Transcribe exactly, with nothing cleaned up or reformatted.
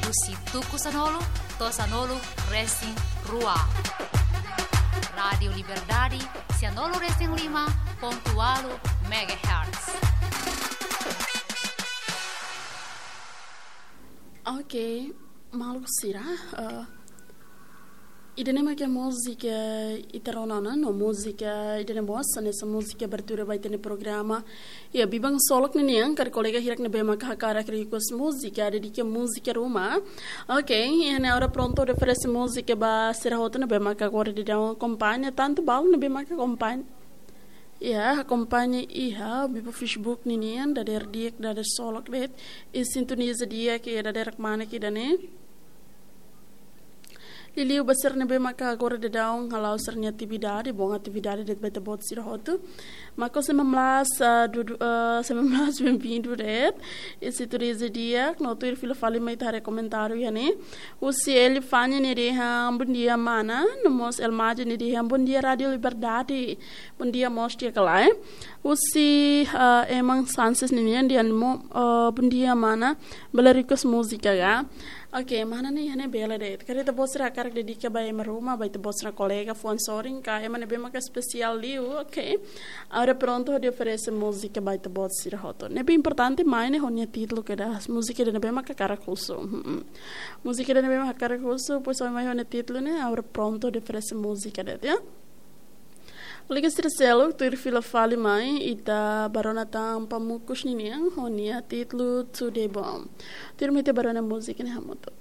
Husi tuku sanulu to'o sanulu resin rua. Rádiu Liberdade, sanulu resin lima pontu ualu megahertz. Ok, maluk sira, eh, ida-ne'e mak múzika ita rona ona, no múzika ida-ne'e mós hanesan múzika abertura ba ita-nia programa. Ya, biban solok ninian, karik kolega hirak ne'ebé maka hakarak request múzika, dedika múzika ruma. Ok, iha ne'e agora prontu oferese múzika ba sira hotu ne'ebé maka agora daudaun akompaña, tantu balu ne'ebé maka akompaña. Ya, akompaña iha biba Facebook ninian, dadeer di'ak, dadeer solok de'it, i sintoniza di'ak iha dadeer kmanek ida-ne'e. Liuliu ba sira ne'ebé maka agora daudaun hala'o sira-nia atividade, bom atividade de'it ba ita-boot sira hotu. Mak sembilan belas, ah, dudu, ah, sembilan belas bem-vindo de'it. I sintoniza di'ak, no tuir fila fali mai ita haree komentáriu iha ne'e. Husi Eli Fanya nia dehan, "Bom dia, mana." No mós Elmaji nia dehan, "Bom dia, Rádiu Liberdade." Bom dia mós di'ak ka lae. Husi, ah, Eman Sanches ninian dehan, mo-, ah, "Bom dia, mana. Bele request múzika ka?" Ok, mana ne'e iha ne'e bele de'it. Karik ita-boot sira hakarak dedika ba ema ruma, ba ita-boot sira kolega, fuan sorin ka, ema ne'ebé maka espesiál liu, ok. Agora prontu hodi oferese múzika ba ita-boot sira hotu. Ne'ebé importante mai ne'e ho nia títulu kedas, múzika ida ne'ebé maka hakarak husu. Hmm. Múzika ida ne'ebé maka hakarak husu, depois mai ho nia títulu ne'e, agora prontu hodi oferese múzika de'it, ya. Kolega sira seluk, tuir fila fali mai, ita bá rona tan Pamukus ninian, ho nia títulu Tudo Bom. Tuir mai ita bá rona múzika ne'e hamutuk.